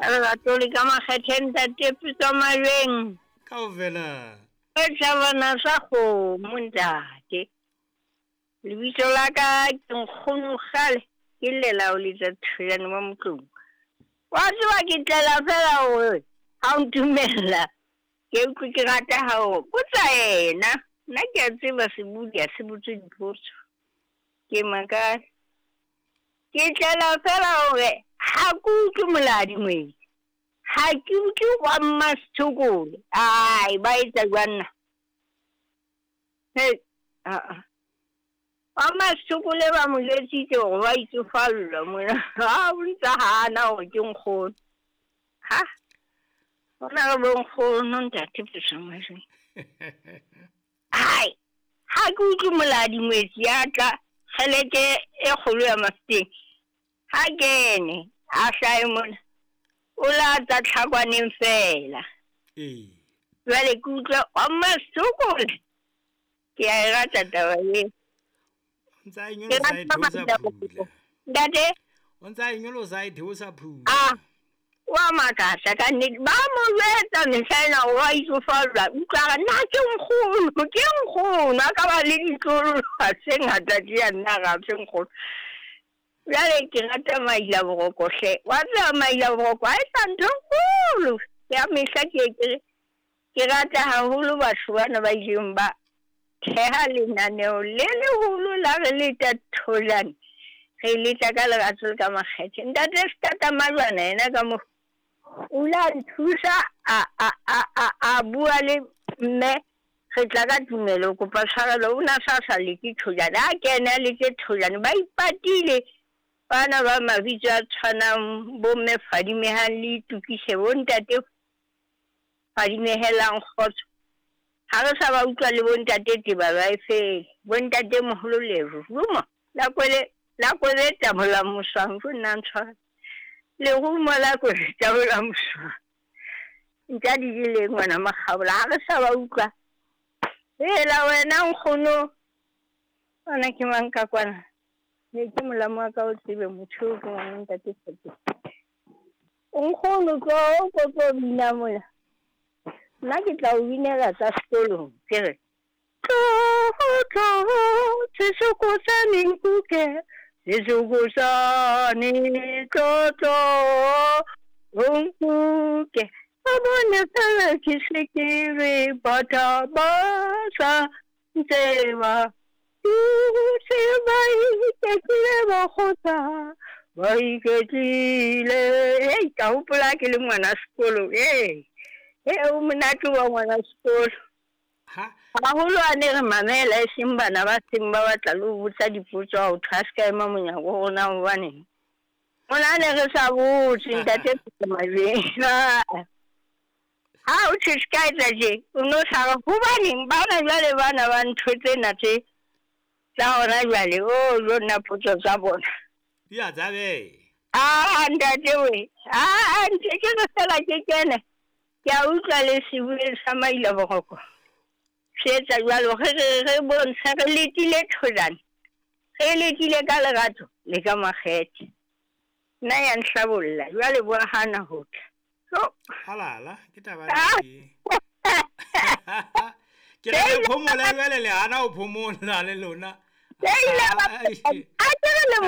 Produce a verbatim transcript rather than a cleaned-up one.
Ka lerato le ka makgethe ntate Pitso Majweng. Kaofela. E tjhabana sa kgomo ntate. Lebitso la ka ke nkgono kgale ke llela ho letsa thojane wa motlong. Wa tseba ke tlela fela hore ha o ntumella ke utlwe ke rata hao botsa yena. Nna ke a tseba sebodi ha se botse dipotso. Ke makala. Ke tlela fela hore ha ke utlwe moladi moedi. Ha ke utlwe wa mmasethokole. Ai, ba etsa jwang nna? Hei, aa. Wa mmasethokole ba mo jwetsitse hore ba itsofallwa mona. Ha o ntsa hana hore ke nkgono. Ha? Hona re bo nkgono ntate Pitso Majweng. Hai, ha ke utlwe moladi moetsi ya tla kgeleke e kgolo ya Mafeteng. Ha kene, a hlahe mona. O la tsa tlhakwaneng fela. Ee. Jwale ke utlwa wa mmasethokole. Ke a e rata taba eo. O ntsa e Ke nyolosa e rata theosa maila phula. Ntate? O ntsa e nyolosa e theosa phula. Ah, wa makatsa ka nnete. Ba mo jwetsa mehla ena hore wa itsofallwa. Utlwa a re, nna ke nkgono, ke nkgono. A ka ba le ditloholo tse ngata tje ya nna ra se nkgono. Jwale ke rata maila boroko hle. Wa tseba maila boroko ha e sa ntho e kgolo. Ya mehla ke ke ke rata haholo batho bana ba ileng ba theha lenaneo le leholo la re leta tholane. Re letla ka lerato le ka makgethe. Ntate Setata Majwana yena ka mo o la nthusa a a a a a bua le mme re tla ka tumelo kopa tshwarelo o na sa sa leke tholane. Ha kene a leke tholane ba ipatile bana ba mabitso a tshwanang bo mme Fadimehang le Itukise bo ntate Fadimehelang kgotso. Ha re sa ba utlwa le bo ntate Teba ba e fele. Bo ntate moholo lerumo la kwele la kwele tabola moswang go nna ntshwara. Lerumo la kwele tabola moswang. Nka di jele ngwana makgabola ha re sa ba utlwa. Hela wena nkgono. Ona ke mang ka kwana? Ne ke molamo wa ka o tsebe motho o ke ngwana ntate Tshepo. Nkgono tlo ko tlo bina mona. Nna ke tla o binela tsa sekolong ke re tlo tlo sesokosane nkuke sesokosane tlo tlo nkuke ba bone fela ke se ke re batha ba sa ntseba se ba iketlile ba kgotsa ba iketlile. Hei, ka hopola ke le ngwana sekolo. Ee, ee, o monate wa ngwana sekolo. Ha? Haholo a ne re mamela e seng bana ba seng ba batla le ho botsa dipotso ha ho thwe a se ka ema monyako ho rona hobaneng. Mona ne re sa botse ntate Pitso Majweng. Ha o thwe se ka etsa tje, o no sa re hobaneng bana jwale bana ba ntho tsena tse tsa hona jwale, o jo nna potso tsa bona. Di a tsabe. Ah, ntate we. Ah, ntse ke re fela ke kene. Ke a utlwa le sebueng sa maila boroko. Se etsa jwalo, re re re bontsha re letile tholane. Re letile ka lerato le ka makgethe. Nna ya nhlabolla, jwale bo hana ho tla. So. Halala, ke taba Ah. e. Ke re le phomola jwale le hana ho phomola le lona. Ke ile ba- Ai. A ke re le